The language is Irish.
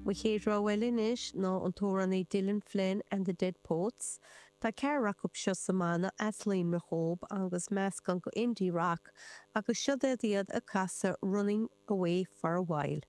Mo chéad rogha eile anois ná an t-amhránaí Dylan Flynn and the Dead Poets. Tá ceathrar acu seo sa mbanna as Luimneach dhób agus meascán go indie rock agus seo iad ag casadh Running Away for a While.